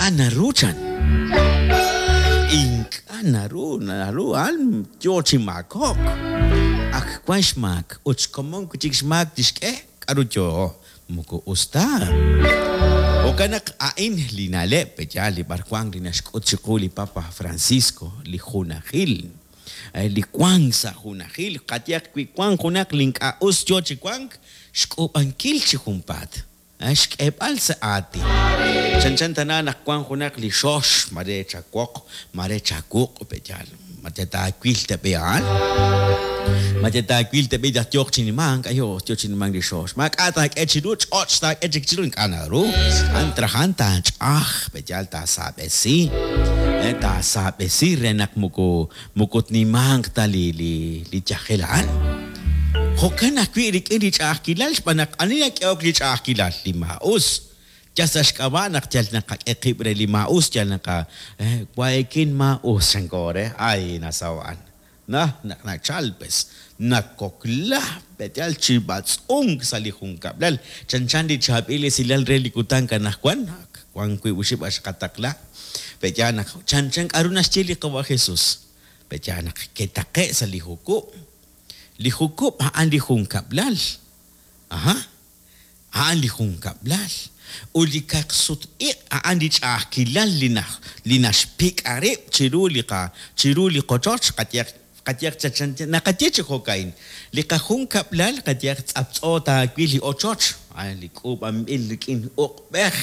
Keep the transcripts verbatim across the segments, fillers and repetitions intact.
Ink'a' naru chan. Ink'a' naru, naru a'an yo chi maakok. Ak wan xmaak ut xkomon wi' chik xmaak tixk'e k'aru yo moko us ta. Jo'kan naq a'in li na'leb' pe'yaal li b'arwan li naxk'ut chiqu li Papa Francisco, li junajil, li wank sa' junajil, qayehaq wi wank junaq li ink'a' us yo chi wank, xk'uub'ankil chi junpaat, xk'eeb'al sa' aatin. Chanchan tana naq wank junaq li xox, mare chawoq, mare chawuq' pe'yaal, ma taawil ta b'i a'an? Ma taawil ta b'i naq yooq chi nimank, ayo yo chi nimank li xox. Maak'a' taak'e chiru, ch'och' taak'e chik chiru, ink'a' naru. A'an trajan taach'aj, pe'yaal taasaab'esi, taasaab'esi re naq moko moko tnimanq ta li li li yajel a'an. Jo'kan ajwi' rik'in li ch'a'ajkilal xb'aan naq ani nak'ehok li ch'a'ajkilal, li maa'us. Yal sa' xk'ab'a' naq yal naqak'e qib' re li maa'us, yal naqa waekin maa'us chanko re, ay nasaho' a'an. Na naq nachal pues nakokla pe'yaal chi b'atz'unk sa' li junkab'lal. Chanchan li chaab'il esilal re li kutan anaqwan, wan wiib' oxib' xqataqla. Pe'yaal naq chanchan k'aru naxye li qawa' Jesus. Pe'yaal naq ketaqe' sa' li jukub'. Li jukub' a'an li junkab'lal. Aha, a'an li junkab'lal. Ut li kaqsut-iq' a'an li ch'a'ajkilal li naj li naxpik'a rib' chiru li qa chiru li qochoch qayehaq qayehaq chanchan naqaye chi jo'ka'in. Li qajunkab'lal qayehaq tz'aptz'o taawil li ochoch, a'an li k'uub'anb'il rik'in uq'b'ej,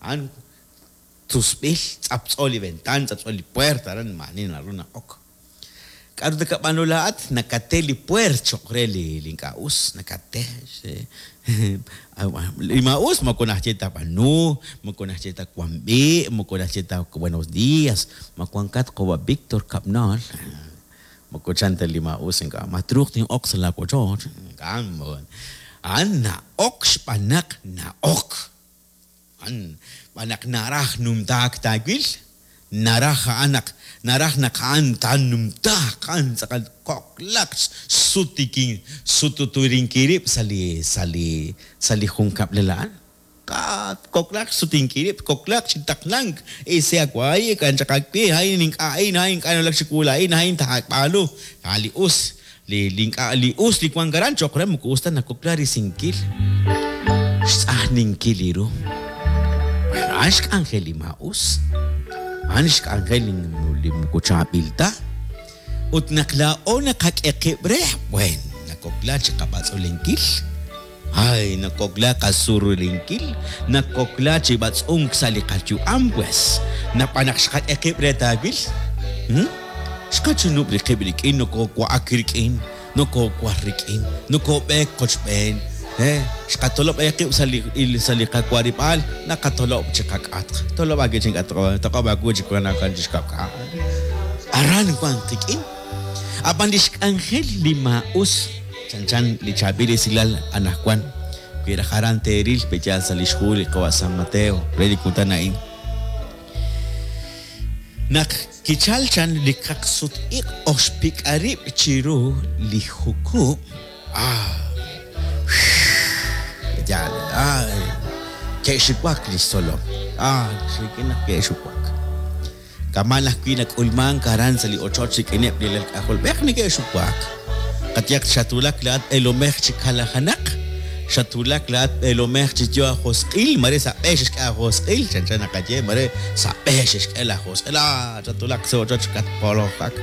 a'an tusb'il, tz'aptz'o li ventan, tz'aptz'o li puerta, aran maa'ani naru na'ok. K'aru nakab'aanu laa'at? Nakate li puert cho'q re li li ink'a' us, nakate. Li maa'us moko naxye ta b'aanu, moko naxye ta wan b'i', moko naxye ta buenos días, ma wankat qawa' Víctor Kab'nal. Moko chan ta li maa'us ink'a' ma truuq tin'ok sa' laawochoch. Ink'a' a'an na'ok xb'aan naq na'ok. A'an xb'aan naq naraj numtaak taawil, naraj a'an naq naraj naq a'an taanumtaaq, a'an tz'aqal koklaq sutikin sututurinkil rib' sa' li sa' li sa' li junkab'lal a'an. Koklaq sutinkil rib', koklaq chi taqlank, isi awaay, kanchaq awi, a'in ink'a' a'in, a'in ink'a' nawulak chiwu laa'in, a'in taab'aanu. A' li us, li li ink'a' li us li wank aran cho'q re moko us ta nakokla risinkil, xtz'ajninkil li ru. A'an xk'anjel li maa'us. A'an xk'anjel li moko chaab'il ta. Ut naq laa'o naqak'e qib' re, buen, nakokla chi qab'atz'ulenkil. Ay, nakokla qasurulinkil, nakokla chi b'atz'unk sa' li qayu'am pues. Nab'an naq xqak'e qib' re taawil, hmm? Xqachunub' li qib' rik'in, nokowa'ak rik'in, nokowar rik'in, nokob'eek qochb'een. Eh, xqatolob' qib' sa' li sa' li qawarib'aal, naqatolob' chi qak'atq. Tolob' awi' chi ink'a' toq'ob' aawu chi wank chi xkab'ka'. Aran wank qik'in. Ab'an li xk'anjel li maa'us, chanchan li chaab'il esilal anaqwan, wi raj aran teeril pe'yaal sa' li xhu li qawa' San Mateo re li kutan a'in. Naq kichal chan li kaqsut-iq' oxpik'a rib' chiru li jukub', ah, yaal, ah, ke'xiwak li xtzolom. Ah, rik'in naq ke'xiwak. Kama' ajwi' nak'ulmank aran sa' li ochoch rik'ineb' li alal k'ajolb'ej neke'xiwak. Qayehaq xatwulak laa'at b'eelomej chi kalajanaq, xatwulak laa'at b'eelomej chi yo ajosq'il, mare sa' b'e xexk'e ajosq'il, chanchan naqaye, mare sa' b'e xexk'e lajosq'il, ah, xatwulak sa' ochoch katpolojak.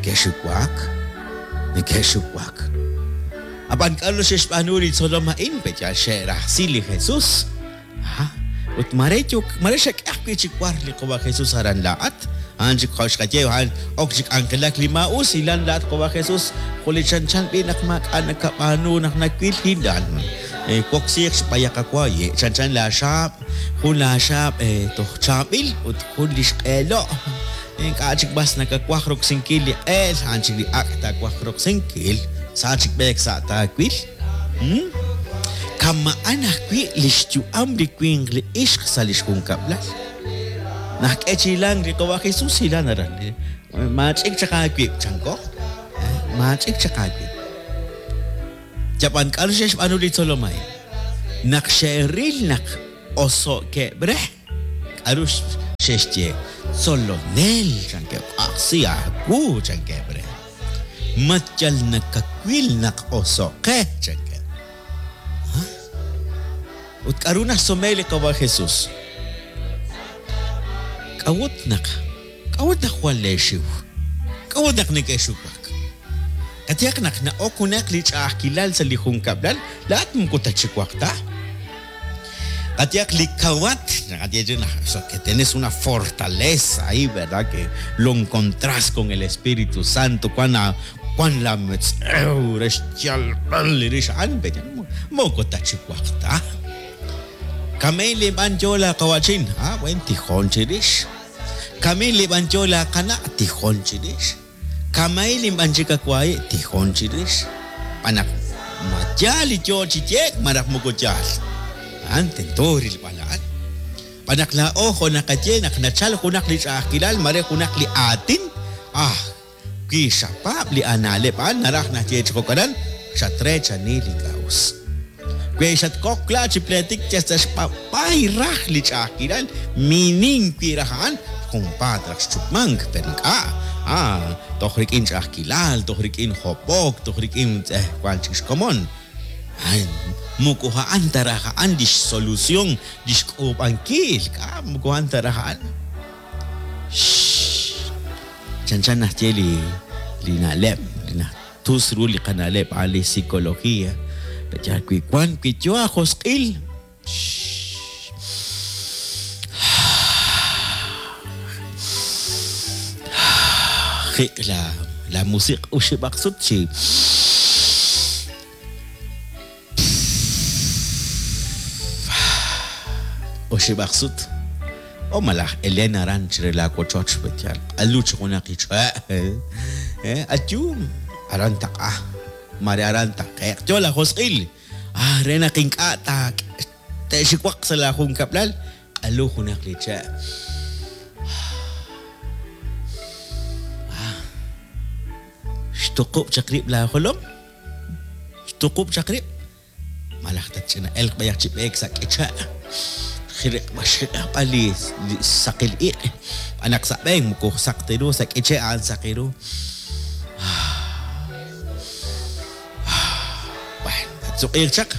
Ke'xiwak, neke'xiwak. Ab'an k'aru xe'xb'aanu li tzolom a'in, pe'yaal xe'rajsi li Jesus. Ah, ut mare yo mare xak'e ajwi' chi war li qawa' Jesus aran laa'at. A'an chik xqaye, a'an ok chi k'anjelak li maa'us, hilan laa'at qawa' Jesus, jo' li chanchan b'i' naq maak'a' nakab'aanu naq nawil hilan. Woksiiq xb'ayaq awa, chanchan laaxaab', jun laaxaab' toj chaab'il ut jun li xq'eelo'. Ink'a' chik b'as nakawaj roksinkil li q'eel, a'an chik li ak' taawaj roksinkil. Sa chik b'eek sa' taawil. Hmm? Kama'an ajwi' li xyu'am li winq li ixq sa' li xjunkab'lal. Nak'e chi hilank li qawa' Jesus hilan aran. Maach'ik chaq aawib', chanko. Maach'ik chaq aawib'. Yab'an k'aru xe'xb'aanu li tzolom a'in? Naq xe'ril naq oso'keb' re, k'aru Xexye tzolonel chankeb' ajsi aawu chankeb' re. Ma yal nakawil naq oso'qe chankeb'. Ut k'aru naxsume li Qawa' Jesus? K'a'ut naq k'a'ut naq jwal leexiw? K'a'ut naq neke'xuwak? Qayehaq naq na'ok junaq li ch'a'ajkilal sa' li junkab'lal, laa'at moko tatxiwaq ta. Qayehaq li kawat, que tienes una fortaleza ahí, ¿verdad? Que lo encontrás con el Espíritu Santo, cuan cuan la metz'ew re xyalb'al li rix a'an, moko tatxiwaq ta. Kamil li b'an yo la qawachin, ah, buen tijon chirix. Kamil li b'an yo la qana, tijon chirix. Kamay li b'an chikakwai, tijon chirix. Panak mayal yo chiyek, maraj moko yal. An tento ril balaan. Panak la ojo nakaye nak nachal junak li ch'a'ajkilal mare junak li aatin. Ah, ki xapab li analeb an naraj naye chikokaran, xatre chani li kaus. Kwe xatkok la chipletik chastashpapay raj li ch'a'ajkilal minin wi rajan jumpat raj xchupmank pero ink'a' ah toj rik'in ch'a'ajkilal toj rik'in job'ok toj rik'in eh wan chik xkomon. Ay, moko ha'an taraj a'an li xsolución li xk'uub'ankil k'a moko ha'an taraj a'an. Chanchan naxye li li na'leb' li natus ru li qana'leb' a'an li psicología. Pero wi wan wi yo ajosq'il jiq la la musiq uxib'aq sut chi uxib'aq sut o malaj Elena aran chire la wochoch b'yal aluch junaq ich'a eh ayu aran taq'a mare aran taqeq yo la josq'il ah re naq ink'a' ta te'xiwaq sa' la junkab'lal q'alu junaq li che' ah xtuqub' chaq rib' la jolom xtuqub' chaq rib' malaj tatch'ina elq b'ayaq chi b'eek sa' k'iche' xriq'b'al li saqil iq' b'anaq sa' b'een moko saq ta ru sa' k'iche' a'an saqi ru. Tzuq'il chaq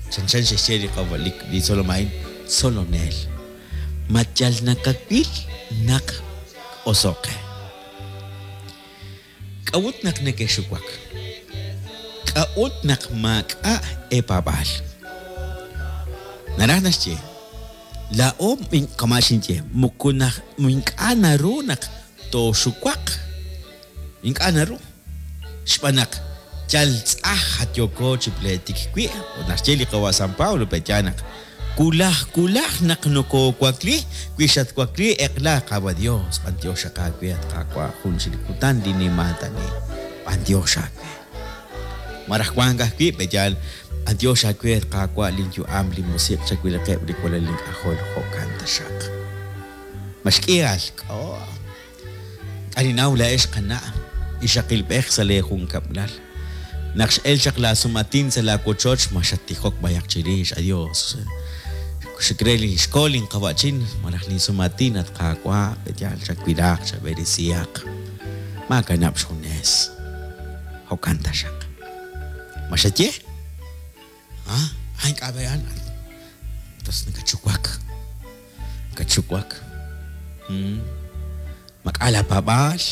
chanchan xexye li qawa li tzolom a'in tzolonel ma yal nakawil naq oso'qe. K'a'ut naq neke'xuwak? K'a'ut naq maak'a' eepaab'aal? Naraj naxye laa'o kama' xinye moko naq ink'a' naru naq tooxuwaq ink'a' naru xb'aan naq yal tz'aj yoko chi pletik wi' ut naxye li Qawa' San Pablo pe'ya naq kulaj kulaj naq nokowakli wi xatwakli eq'la Qawa' Dios b'antiox aawe at Qaawa' jun chi kutan li nimaatani b'antiox aawe maraj wank ajwi' pe'yal b'antiox aawe at Qaawa' linyu'am li musiq' chawilaqeb' li walal link'ajol jo'kan taxaq maxk'ihal k'o k'aninaw la'ex qana' ixaqilb'ej sa' leejunkab'lal naq x'el chaq la sumatin sa' la wochoch ma xattijok b'ayaq chirix adios xikre li xkool inqawa'chin malaj linsumatin at Qaawa' pe'yal chawilaq chab'erisihaq maakanab' xjunes jo'kan taxaq ma xaye ah ah ink'a' b'e'an entonces nakachuwak nakachuwak mak'a la paab'aal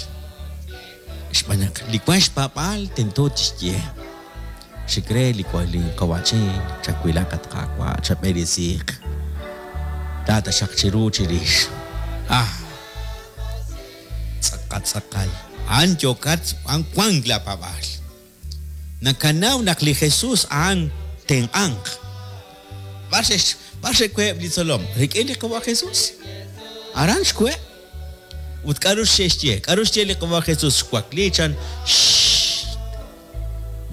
xb'aan naq li wan xpaab'aal tento tixye xikre li li qawa'chin chawilaq at Qaawa' chab'erisiiq taa taxaq chiru chirix ah tz'aqal tz'aqal a'an yokat a'an wank la paab'aal nakanaw naq li Jesus a'an tenq'anq b'ar xex b'ar xe'kuheb' li tzolom rik'in li Qawa' Jesus aran xkuheb' ut k'aru xexye k'aru xye li Qawa' Jesus xwakli chan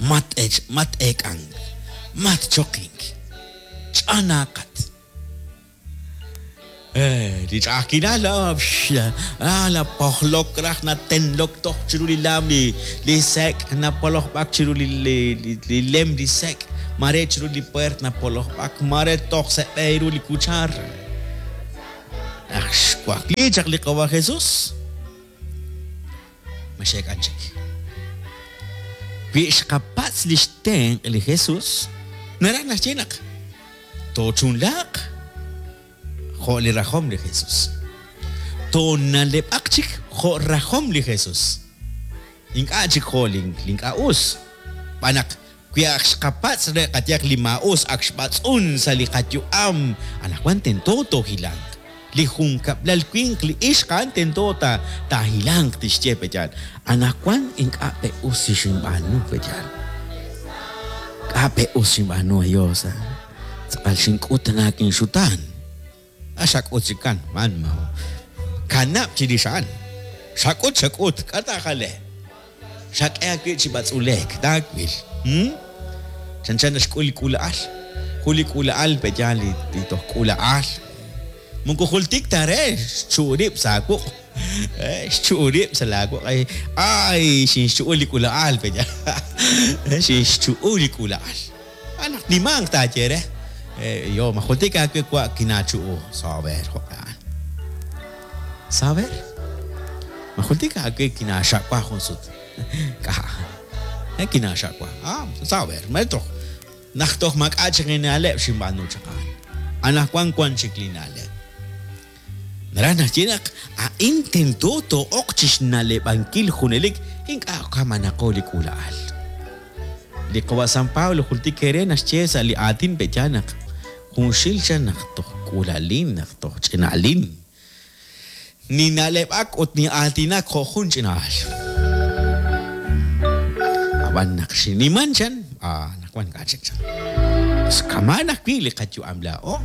mat ech mat eek'ank mat choqink ch'anaaqat eh li ch'a'ajkilal ah la pojlok raj natenlok toj chiru li lam li li sek' napolojb'ak chiru li li lem li sek' mare chiru li puert napolojb'ak mare toj seb'e ru li kuchar naq Xwakli chaq li Qawa Jesus. Ma xeek'an chik. Wi xqapatz' li xtenq' li Jesus, naraj naxye naq toochunlaaq jo' li rajom li Jesus. Toonaleb'aq chik jo' rajom li Jesus. Ink'a' chik jo' li ink'a' us. B'an naq wi ak xqapatz' re qayaq li maa'us ak xb'atz'un sa' li qayu'am, anaqwan tento toohilanq. Li junkab'lal winq li ixq a'an tento ta taahilanq tixye peyal. Anaqwan ink'a' pe us xinb'aanu peyal. K'a pe us xinb'aanu Dios. Tz'aqal xink'ut naak inxutaan. A xak'ut chikan, man ma. Kanab' chirix a'an. Xak'ut xak'ut, k'a taajale. Xak'e awi' chi b'atz'ulek, taawil. Hmm? Chanchan naxk'ul li k'ula'al. Jun li k'ula'al peyal li toj k'ula'al. Moko jultik ta re xchu'urib' sa' wuq'. Xchu'urib' sa' la wuq'. Ay, xinxchu'ul li k'ula'al peyal. Xinxchu'ul li k'ula'al. Anaq nimanq taaye re. Yo, ma jultik awe wa kinachu'u. Saber, jo'kan. Saber? Ma jultik awe kinaxaqwa jun sut. K'a. Kinaxaqwa. Ah, saber, maetro. Naq toj mak'a chik li na'leb' xinb'aanu chaq a'an. Anaqwan wan chik li na'leb'. Naraj naxye naq a'in tento too'oq chi xna'leb'ankil junelik ink'a' kamanaqo li k'ula'al. Li Qawa San Pablo jultik ere naxye sa' li aatin pe'ya naq junxil chan naq toj k'ulalin, naq toj ch'ina'lin. Ni na'leb'ak ut ni aatinak jo' jun ch'ina'al. Ab'an naq xiniman chan, ah, naq wan k'a chik chan. Kaman ajwi' li qayu'am laa'o.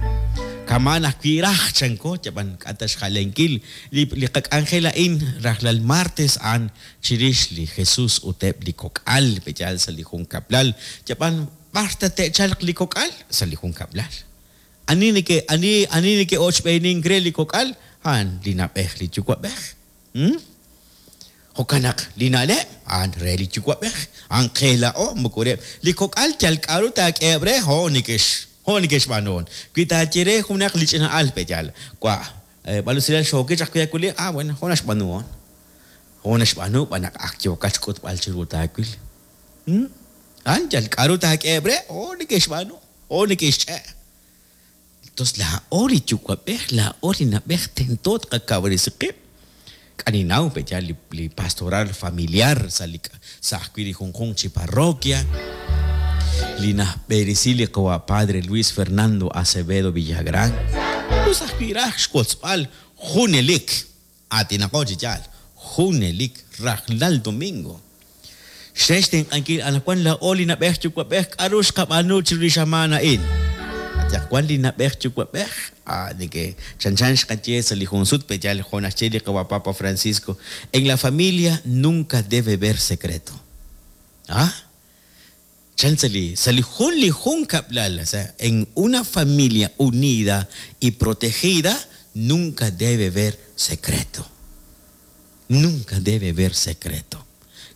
Kaman ajwi' raj chanko, yab'an k'ata xjalenkil li li qak'anjel a'in rajlal martes a'an chirix li Jesus ut eb' li kok'al peyal sa' li junkab'lal. Yab'an b'ar ta te'chalq li kok'al sa' li junkab'lal. Ani neke ani ani neke'ochb'eenink re li kok'al a'an li na'b'ej li yuwa'b'ej. Hmm? Jo'kan naq li na'leb' a'an re li yuwa'b'ej, a'an qe laa'o moko reheb' li kok'al yal k'aru taak'eheb' re jo' neke'x jo' neke'xb'aanuhon. Wi taaye re junaq li ch'ina'al peyal, wa b'alusilal xooki chaq wi akuli, ah bueno, jo' naxb'aanuhon. Jo' naxb'aanu b'an naq ak yookat xk'utb'al chiru taawil. Hmm? A'an yal k'aru taak'eheb' re jo' neke'xb'aanu, jo' neke'xch'e'. Entonces laa'o li yuwa'b'ej, laa'o li na'b'ej tento tqakawresi qib'. K'aninaw peyal li, li pastoral familiar sa' li sa' ajwi' li junjunq chi parroquia. Li najb'eresi li qawa Padre Luis Fernando Acevedo Villagrán. Us ajwi' raj xwotzb'al junelik. Aatinaqo chi yaal, junelik rajlal domingo. Xrex tenq'ankil anaqwan laa'o li na'b'ej yuwa'b'ej k'aru xqab'aanu chiru li xamaan a'in. Ataq wan li na'b'ej yuwa'b'ej, ah, neke chanchan xqaye sa' li jun sut peyal jo' naxye li qawa Papa Francisco, en la familia nunca debe haber secreto. Ah? Chan sa' li sa' li jun li jun kab'lal, o sea, en una familia unida y protegida nunca debe haber secreto. Nunca debe haber secreto.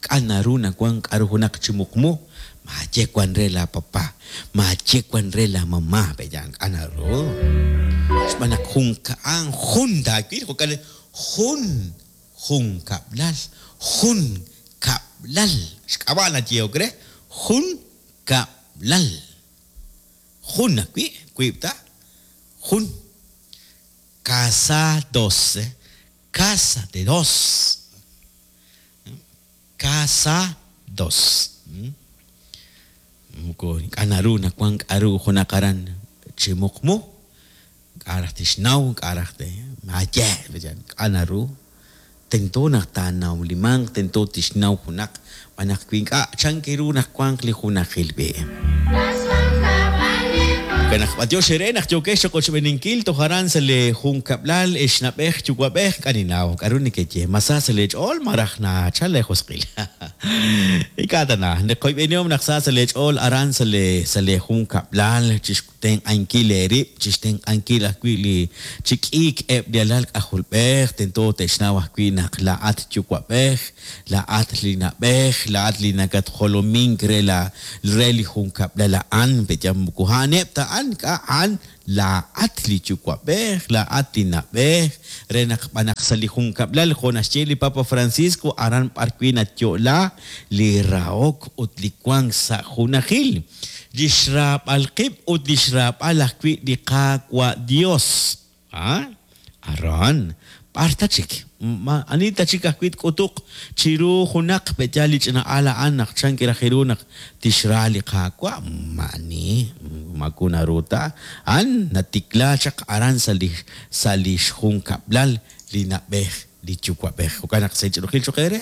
K'a naru nawan k'aru junaq chi muqmu, maaye wan re la papá, maaye wan re la mamá, peyan k'a naru. Xb'aan naq jun ka'an jun taawil, jo'kan jun jun kab'lal, jun kab'lal. Xk'ab'a' nayehok re jun kab'lal. Jun ajwi', wiib' ta, jun. Casados, eh? Casa de dos. Casa dos. Moko k'a naru nawan k'aru junaq aran chi muqmu, k'a raj tixnaw, k'a raj te maaye, k'a naru. Tento naq taanawlimanq, tento tixnaw junaq, b'an naq wi ink'a' chan kiru naq wanq li junajil b'e. Naq b'atiox ere naq yookex choqochb'eninkil toj aran sa' li junkab'lal ex na'b'ej yuwa'b'ej k'aninaw k'aru nekeye masa sa' li ch'ool maraj nachal le josq'il. Ink'a' ta na neqoyb'enihom naq sa sa' li ch'ool aran sa' li sa' li junkab'lal chixtenq'ankil eerib', chixtenq'ankil ajwi' li chi k'iik eb' li alal k'ajolb'ej, tento te'xnaw ajwi' naq laa'at yuwa'b'ej, laa'at li na'b'ej, laa'at li nakatjolomink re la re li junkab'lal a'an, peyam moko a'aneb' ta a'an k'a' a'an laa'at li yuwa'b'ej, laa'at li na'b'ej, re naq b'anaq sa' li junkab'lal jo' naxye li Papa Francisco aran b'ar wi' nayo'la li rahok ut li wank sa' junajil, li xraab'al qib' ut li xraab'al ajwi' li Qaawa' Dios. Ah, aran b'ar ta chik ma ani ta chik ajwi' tk'utuq chiru junaq pe'yaal li ch'ina'al a'an naq chan kiraj ru naq tixra li Qaawa' ma'ani maku naru ta a'an natikla chaq aran sa' li sa' li xjunkab'lal li na'b'ej li yuwa'b'ej. Jo'kan naq sa' ch'inujil choq' eere.